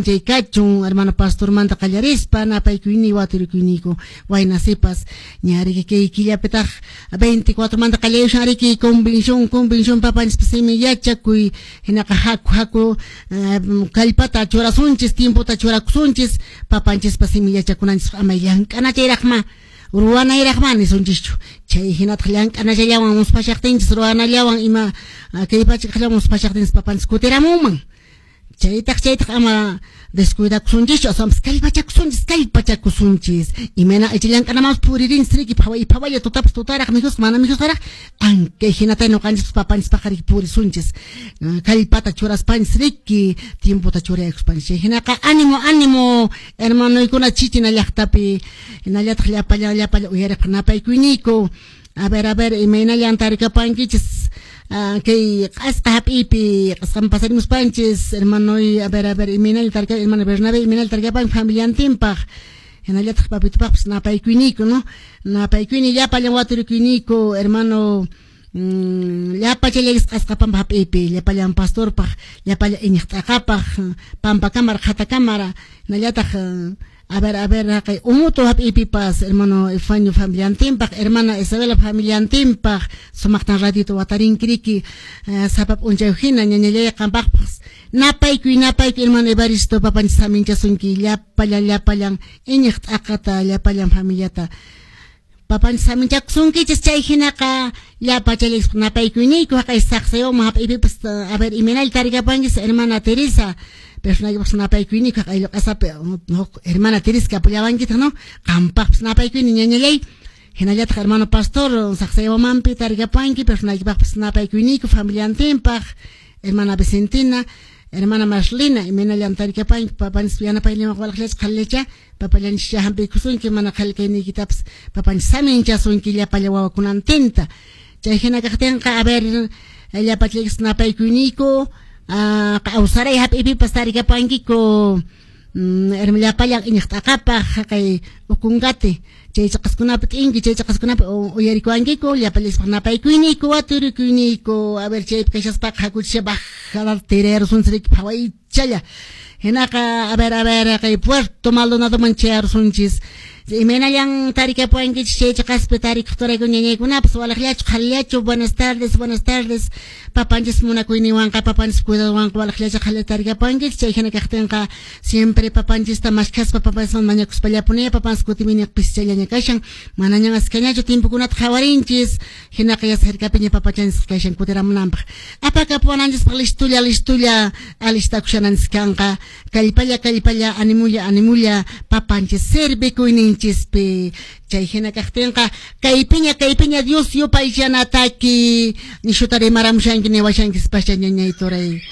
Chay kachun hermano pastormanta qallarispa napaykuyniy waturikuyniyku wayna sipas ña riki kay killapitaq 24 manta qallayushan riki convención, convención papanchispa simi yachakuy. Hinaqa haku, haku, kallpata churasunchis, tiempota churakusunchis papanchispa simi yachakunanchis. Ama llank'anachayraqma, ruwanayraqma nisunchischu. Chay hinataq llank'anachallawan musphashaqtinchis, ruwanallawan ima kay pacha kaqllawan musphashaqtinchis papanchis kutiramunman. Chaytaq ama descuidakusunchischu, aswanpas kallpachakusunchis, kallpachakusunchis. Imayna aycha llank'anamanpas puririnchis riki, phaway phawaylla, tutapas tutaraq, mikhusqa mana mikhusqaraq, ankay hinata ñuqanchispas papanchispaq riki purisunchis, kallpata churaspanchis riki, tiempota churaykuspanchis. Chay hinaqa ánimo, ánimo, hermanoykuna Chichina llaqtapi, hinallataq llapallan, llapallan uyariqpaq napaykuyniku. A ver, a ver, imaynallan tarikapankichis kay q'asqa hap'iypi, q'asqan pasarimuspanchis, hermanoy? A ver, a ver, imaynallan tarika hermano Bernabé, imaynallan tarikapanki familiantinpaq, hinallataq papitupaqpas napaykuyniku, no? Napaykuyni llapallan waturikuyniyku, hermano, llapa challaykus q'asqa pampa hap'iypi, llapallan pastorpaq, llapallan iñiq t'aqapaq, pampa cámara, qhata cámara, hinallataq, a ver, a ver, haqay Umutu hap'iypipas hermano Efanio familiantinpaq, hermana Isabela familiantinpaq, sumaqtan radiota watarinki riki sapa p'unchay hina, ñañallay, qampaqpas napaykuy, napaykuy, hermano Evaristo. Papanchis saminchasunki llapallan, llapallan iñiq t'aqata, llapallan familiata papanchis saminchakusunkichis. Chay hinaqa llapa challaykus napaykuyniyku haqay Saqsayoma hap'iypipas. A ver, imaynalla tarikapanchis, hermana Teresa? Personaypaqpas napaykuyniku haqay Lluq'asapi huk hermana Teresa kapullawankitaq, no? Qampaqpas napaykuyni, ñañallay. Hinallataq hermano pastor Saqsaywamanpi tarikapanki, personaykipaqpas napaykuyniku familiantinpaq, hermana Vicentina, hermana Marlina, imaynallan tarikapanki? Papanchis yanapayninwan walaqllacha, qhalillacha, papallanchis hampiykusunki, mana qhali kayniykitapas papanchis saminchasunki llapalla wawakunantinta. Chay hina kaqtinqa, a ver, llapallaykus napaykuyniku Awsaray hap'ipipas tarikapankiku, llapallan iñiq t'aqapaq haqay Ocongate chay chaqaskunapi t'inki, chay chaqaskunapi uyarikuwankiku, llapallayspaq napaykuyniku, waturikuyniyku. A ver, chaypi kashaspaqa hakuchisha bajada tirarusunchis riki phawaychalla. Hinaqa, a ver, a ver, haqay Puerto Maldonadoman chayarusunchis. Imaynallan tarikapuwankichis chay chaqaspi tarikuqturayku, ñañaykunapas? Walaqllachu, qhalillachu? Buenas tardes, buenas tardes. Papanchis munakuyninwanqa, papanchis cuidadowanqa walaqllachu, qhalilla tarikapuwankichis? Chay hina kaqtinqa siempre papanchista maskhaspa, papanchisman mañakuspallapuni. Papanchis kutiminiq pischallaña kashan, manañan askañachu tiempokunata qhawarinchis. Hinaqa ya cercapiña papachanchis kashan kutiramunanpaq, apakapuwananchispaq listulla, listulla alistakushananchis kanqa. Kallpalla, kallpalla, animulla, animulla papanchis servikuyninchispi. Chay hina kaqtinqa kaypiña, kaypiña Dios yupaychanataki nishuta rimaramushanki, niwashankis pascha, ñañay turay.